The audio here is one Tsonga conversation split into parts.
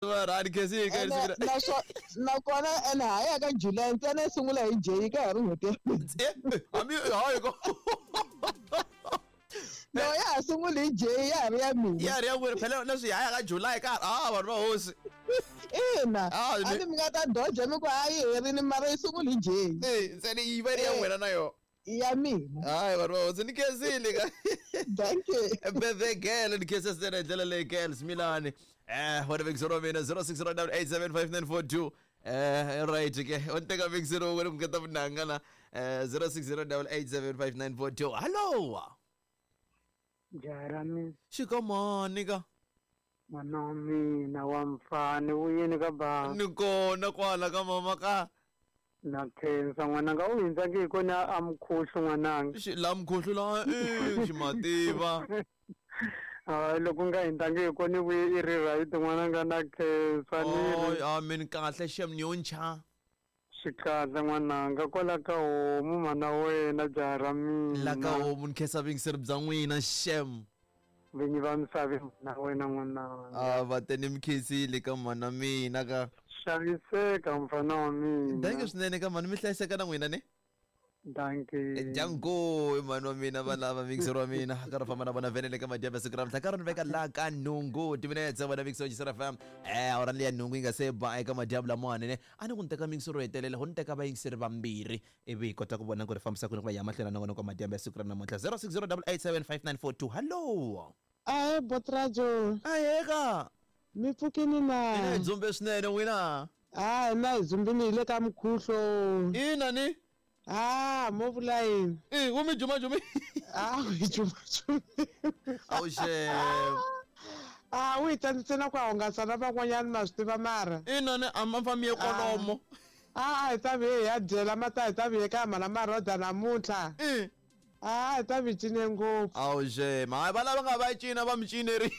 Rani khesi Ene nakona ene ha ya ka July ntsena yi sungula hi J ka ha ri n'hweti ya hambi hayi ko. No, ya ha sunguli hi J, ya ha ri ya mina. Ya ri ya n'wina phela leswi hi ya ka July ka a vanhu va hosi. Ina. A ni mi nga ta doja mi ku a yi herini mara yi sunguli hi J. Eh, ntsena yi va ri ya n'wina na yona. Ya mina. Hayi vanhu va hosi ni khensile ka. Thank you. Birthday girl ni khensa swinene hi ndlela leyi girl Smilani. Wena vekisero wa mina 0609875942. Right ke. U ni teka vekisero wena ku ngeta vunanga la. 0609875942. Hello. Jarami. Xikamani ka. N'wana wa mina wa mfana vuyeni ka ba. Ni kona kwala ka mama ka. Na khensa n'wananga u hindza nge hi kona a mukhuhlu n'wananga. Xi la mukhuhlu la eh xi mativa. Hayi loko nga hindza nge hi kona vuye i ri right n'wananga na khensa ni ri. Amen kahle xem ni yo ncha. Xikahle n'wananga kwala ka homu mhana wena jaha ra mina. La ka homu ni khensa vuyingiseri bya n'wina xem. Vinyi va misava mhana wena n'wananga. A va te ni mi khensile ka mhana mina ka. Xaviseka mfana wa mina. Thank you swinene ka mhani mi hlayiseka na n'wina ne. Dankie. Jango i mhani wa mina va lava mixer wa mina ka ri famba na vona vhenele ka madyambu ya siku ra namuntlha ka ri ni veka la ka nhungu timinetse vona mixer wa Jisera FM awara liya nhungu yi nga se ba eka madyambu lamawani ne a ni ku ni teka mixer ro hetelela ho ni teka vayingiseri vambirhi ivi hi kota ku vona ku ri fambisa ku ni ku va ya mahlweni na nongonoko wa madyambu ya siku ra namuntlha 0608875942 hallo. Ahe Botrajo. Ahee ka. Mi pfukini na? Hina hi dzumbe swinene n'wina. Ha hina hi dzumbini hi le ka mukhuhlo. Ina ni. Ah, mo vula yini? Eh, wu mi jumajumi. Ah, wu hi jumajumi. Awu xem. Ah, wu hi tsandzise na ku hungasa na van'wanyana ma swi tiva mara. Ina ni a ma fambi ye kolomo. Ah, a hi ta vuye hi ya dyela mata hi ta vuye ka mhana Maroda namuntlha. Eh. A hi ta mi cine ngopfu. Awu xem. Hayi va lava nga va cina va mi cineri.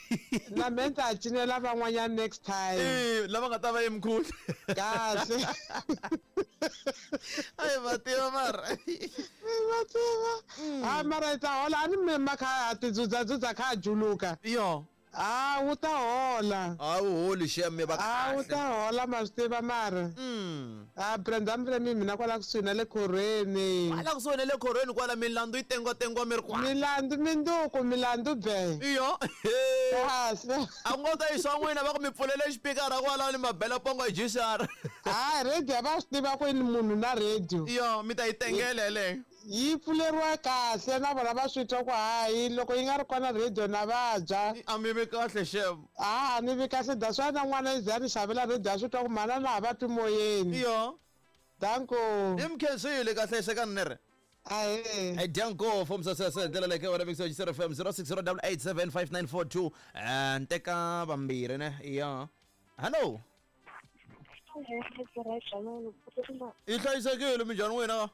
Na me ni ta cinela van'wanyana next time. Eh, lava nga ta va emkhulu. Kahle. Ayi va tiva mara. Va tiva. Ha mara hi ta hola a ni mi ma kha ti dzudzadzudza kha a juluka. Yo. A wu ta hola. A wu holi xem mi va A wu ta hola ma swi tiva mara. A Brenda mi mina kwala kusuhi na le khorweni. Kwala kusuhi na le khorweni kwala milandzu yi tengwa-tengwa mi ri kwa. Milandzu minduku milandzu be. Iyo. Kahle. A ku ngo ta yisa n'wina va ku mi pfulele xipikara kwala ni mabela pongo hi jisara. Hayi radio va swi tiva ku ni munhu na radio. Iyo mi ta yi tengela yeleyo. Yi pfuleriwa kahle na vona va swi twa ku hayi loko yi nga ri kona radio na vabya. A mi vi kahle xem. A ni vi kahle that's why na n'wana yi ze a ni xavela radio a swi twa ku mhana na ha va twi moyeni. Iyo. Danko. I mi khensile kahle hlekani ni ri. Ahee. Hey, Danko from Sasasa ndlela leyi ka wena Mixo Jisera FM 0608875942 nteka vambirhi ne ya. Hello. I hlayisekile minjhani wena?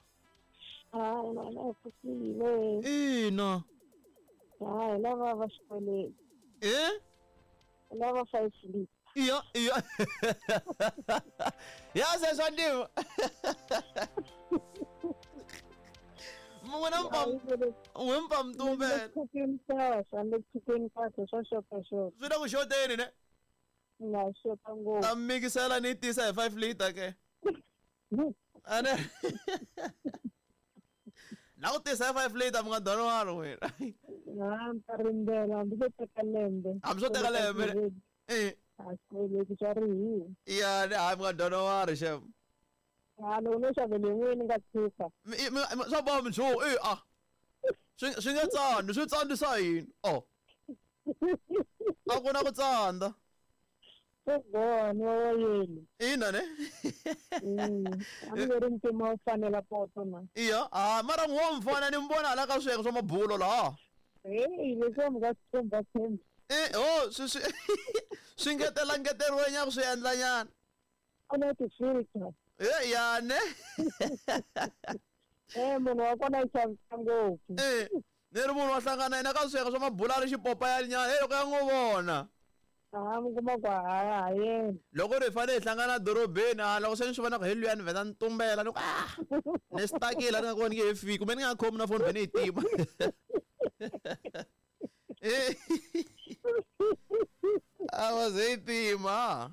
Hayi, na hi pfukile. Ina. Hayi, lava va xikweleti. Eh? Lava 5 liter. Iya, iya. Ya se swa ntima. N'wina mpam n'we mpamtumbela. Pfukeni kahle, le pfukeni kahle swa xota xota. Swi le ku xoteni ne? Nga xota ngopfu. Ta mikisela ni tisa hi 5 liter ke. Ane. La ku tisa hi 5 liter mi nga donwani wena. Ha, ni ta rindzela hambi swo teka lembe. Hambi swo teka lembe. Eh. A xikweleti xa rihiwa. Ya, ni hayi mi nga donwani xem. Ha, loko no xavele n'wini ni nga tshuka. Swa boha mi tshuka, eh ah. Swi nga tsandi, swi tsandzisa yini? Oh. A ku na ku tsandza. Swo boha ni wa yena. Ina ne? A ni ri ntima wu fanela poto na. Iya, ah mara n'wa mfana ni mbona hala ka swiyenge swa mabulo laha. Hey, leswi mi nga swi tshemba tshemba. Eh, oh, swi swi swi ngetela ngeteriwe nyana swi endla nyana. Ku na ti-filter. Eh, ya ne? Eh, munhu wa kona i xavisa ngopfu. Eh, ni ri munhu wa hlangana yena ka swiyenge swa mabulo a ri xipopa ya nyana, hey loko ya n'wi vona. Ha, mi kuma ku ha ha yena. Loko ri hi fanele hi hlangana dorobeni, a loko se ni swi vona ku hi luya ni vheta ni tumbela ni ku ah ni stakile ni nga koni nge he fiki kumbe ni nga khomi na foni vhe ni yi tima. A va ze yi tima.